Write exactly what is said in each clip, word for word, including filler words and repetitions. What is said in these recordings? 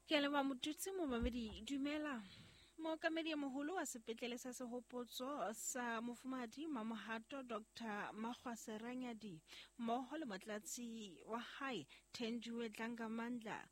Ke a leboha Motutsi momamedi, dumela. Mookamedi e moholo wa sepetlele sa Sehopotso sa Mofumahadi Mamohato Doctor Makgwase Ranyadi mmoho le motlatsi wa hae Thenjiwe Dlangamandla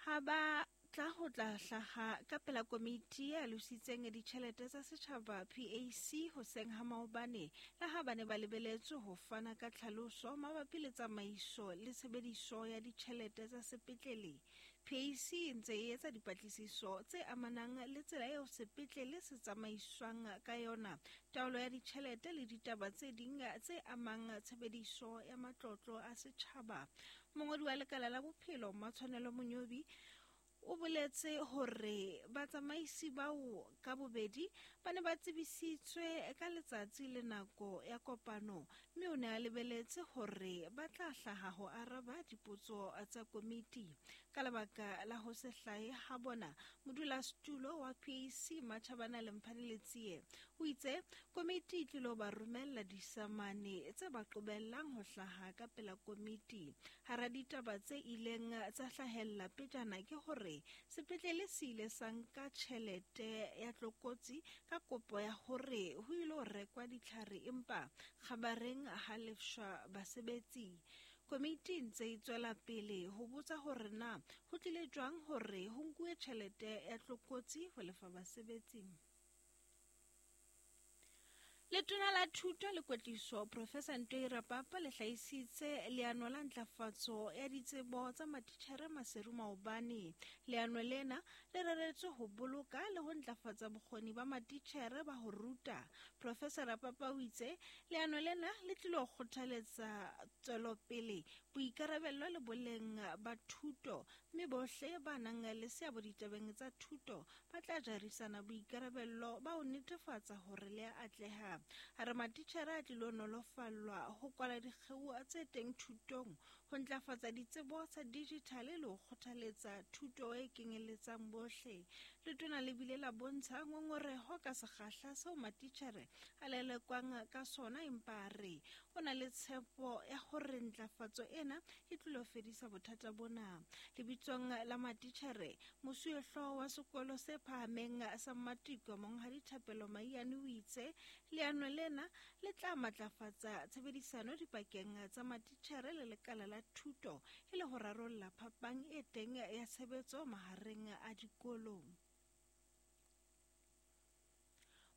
ha ba tla ho tla hlaha ka pela komiti e alositseng ditjhelete tsa setjhaba P A C hoseng ha maobane le ha ba ne ba lebeletswe ho fana ka tlhaloso mabapi le tsamaiso le tshebediso ya ditjhelete tsa sepetlele. P A C e ntse e etsa dipatlisiso tse amanang le tsela eo sepetlele se tsamaiswang ka yona, taolo ya ditjhelete le ditaba tse ding tse amang tshebediso ya matlotlo a setjhaba. Mongodi wa lekala la bophelo Matshwanelo Monyobi o boletse hore batsamaisi bao ka bobedi ba ne ba tsebisitswe ka letsatsi le nako ya kopano, mme o ne a lebeletse hore ba tla hlaha ho araba dipotso tsa komiti. Ka lebaka la ho se hlahe ha bona, modulasetulo wa P A C Matjhabana Lemphane Letsie o itse komiti e tlilo ba romella disamane tse ba qobellang ho hlaha ka pela komiti. Hara ditaba tse ileng tsa hlahella pejana ke hore sepetlele se ile sa nka tjhelete ya tlokotsi ka kopo ya hore ho ilo rekwa ditlhare, empa kgabareng ha lefshwa basebetsi. Komiti e ntse e tswela pele ho botsa hore na ho tlile jwang hore ho nkuwe tjhelete ya tlokotsi ho lefa basebetsi. Letona la Thuto le Kwetliso Professor Ntoi Rapapa le hlahisitse leano la ntlafatso ya ditsebo tsa matitjhere Maseru maobane. Leano lena le reretswe ho boloka le ho ntlafatsa bokgoni ba matitjhere ba ho ruta. Professor Rapapa o itse leano lena le tlilo kgothaletsa tswelopele, boikarabello le boleng ba thuto, mme bohle ba nang le seabo ditabeng tsa thuto ba tla jarisana boikarabello ba ho netefatsa hore le a atleha. A re matitjhere a tlilo nolofallwa ho kwala dikgeo tse teng thutong, ho ntlafatsa ditsebo tsa dijithale le ho kgothaletsa thuto e kenyeletsang bohle. Letona le bile la bontsha ngongoreho ka sekgahla seo matitjhere a lelekwang ka sona, empa a re o na le tshepo ya hore ntlafatso ena e tlilo fedisa bothata bona. Lebitsong la matitjhere, mosuwehlooho wa sekolo se phahameng sa Mmatiko Monghadi Thapelo Maiyane o itse leano lena le tla matlafatsa tshebedisano dipakeng tsa matitjhere le lekala la thuto e le ho rarolla phapang e teng ya tshebetso mahareng a dikolo.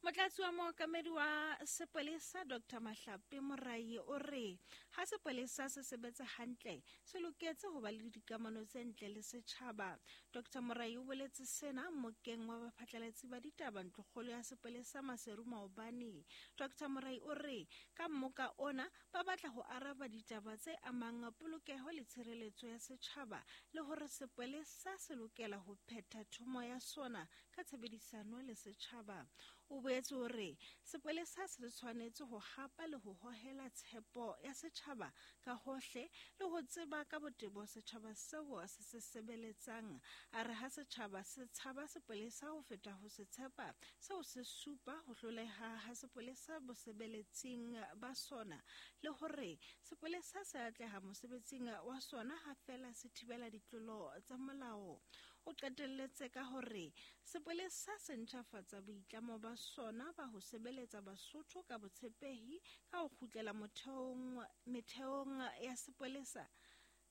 Motlatsi wa mookamedi wa sepolesa Doctor Mahlape Morai o re ha sepolesa se sebetsa hantle se loketse ho ba le dikamano tse ntle le setjhaba. Doctor Morai o boletse sena mmokeng wa baphatlalatsi ba ditaba ntlokgolo ya sepolesa Maseru maobane. Doctor Morai o re ka mmoka ona ba batla ho araba ditaba tse amang polokeho le tshireletso ya setjhaba le hore sepolesa se lokela ho phetha thomo ya sona ka tshebedisano le setjhaba. O boetse o re sepolesa se tshwanetse ho hapa le ho hohela tshepo ya setjhaba ka hohle le ho tseba ka botebo setjhaba seo se se sebeletsang. A re ha setjhaba se tshaba sepolesa ho feta ho se tshepa, seo se supa ho hloleha ha sepolesa bosebeletsing ba sona le hore sepolesa se atleha mosebetsing wa sona ha fela se thibela ditlolo tsa molao. O qetelletse ka hore sepolesa se ntjhafatsa boitlamo ba sona ba ho sebeletsa Basotho ka botshepehi ka ho kgutlela motheong metheong ya sepolesa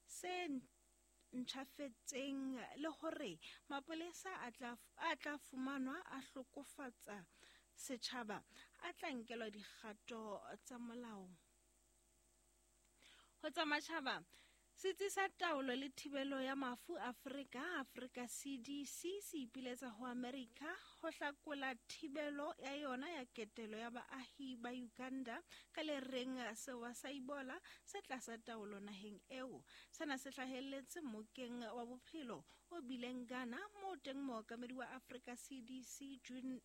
se ntjhafetseng le hore mapolesa a tla a tla fumanwa a hlokofatsa setjhaba a tla nkelwa dikgato tsa molao. Ho tsa matjhaba, Setsi sa taolo le thibelo ya mafu Afrika, Afrika C D C, se ipiletsa ho Amerika ho hlakola thibelo ya yona ya ketelo ya baahi ba Uganda ka le reng sewa sa Ebola se tlasa taolo naheng eo. Sena se hlahelletse mmokeng wa bophelo o bileng Ghana moo teng mookamedi wa Afrika C D C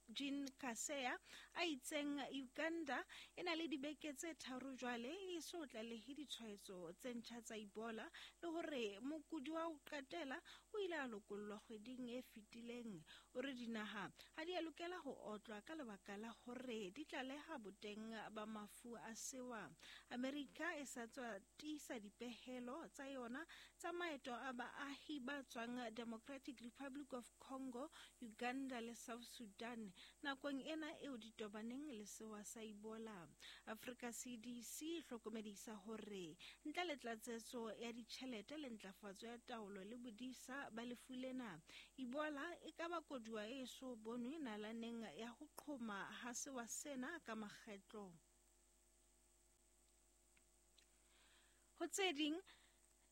Jean Kaseya a itseng Uganda e na le dibeke tse tharo jwale e so tlalehe ditshwaetso tse ntjha tsa Ebola le hore mokudi wa ho qetela o ile a lokollwa kgweding e fetileng. O re dinaha ha di a lokela ho otlwa ka lebaka la hore di tlaleha boteng ba mafu a sewa. Amerika e sa tswa tiisa dipehelo tsa yona tsa maeto a baahi ba tswang Democratic Republic of Congo, Uganda le South Sudan nakong ena eo di tobaneng le sewa sa Ebola. Africa C D C e hlokomedisa hore ntle le tlatsetso ya ditjhelete le ntlafatso ya taolo le bodisa ba lefu lena, Ebola e ka ba koduwa e so bonwe nalaneng ya ho qhoma ha sewa sena ka makgetlo. Ho tse ding,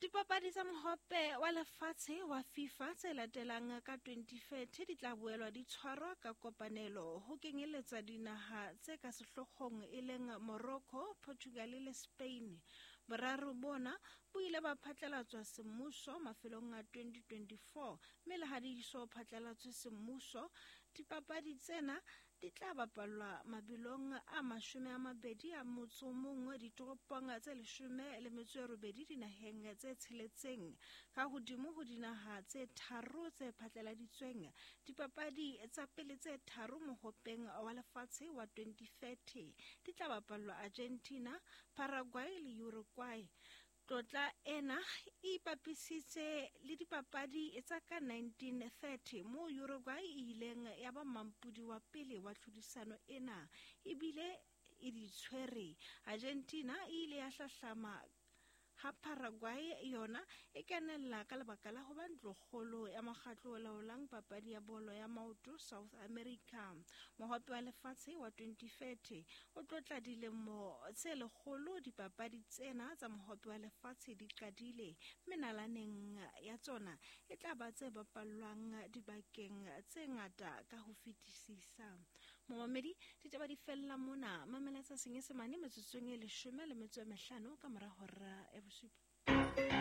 dipapadi tsa mohope wa lefatshe wa FIFA tse latelang ka twenty thirty di tla boelwa di tshwarwa ka kopanelo ho kenyeletswa dinaha tse ka sehloohong e leng Morocco, Portugal le Spain. Boraro bona bo ile ba phatlalatswa semmuso mafelong a twenty twenty-four, mme le ha di so phatlalatswe semmuso, dipapadi tsena di tla bapallwa mabelong a mashome a mabedi a motso o mong ditoropong tse leshome le metso e robedi dinaheng tse tsheletseng. Ka hodimo ho dinaha tse tharo tse phatlaladitsweng, dipapadi tsa pele tse tharo mohopeng wa lefatshe wa twenty thirty di tla bapallwa Argentina, Paraguay le Uruguay. Tlotla ena e ipapisitse le dipapadi tsa ka nineteen thirty moo Uruguay e ileng ya ba mampudi wa pele wa tlhodisano ena ebile e di tshwere. Argentina e ile ya hlahlama ha Paraguay yona e kenella ka lebaka la ho ba ntlokgolo ya mokgatlo o laolang papadi ya bolo ya maoto South America. Mohope wa lefatshe wa twenty thirty o tlotla dilemo tse lekgolo dipapadi tsena tsa mohope wa lefatshe di qadile, mme nalaneng ya tsona e tla ba tse bapallwang dibakeng tse ngata ka ho fetisisa. Momamedi, ditaba di fella mona. Mamela tsa Senyesemane metsotsong e leshome le metso e mehlano ka mora hora ya bosupa.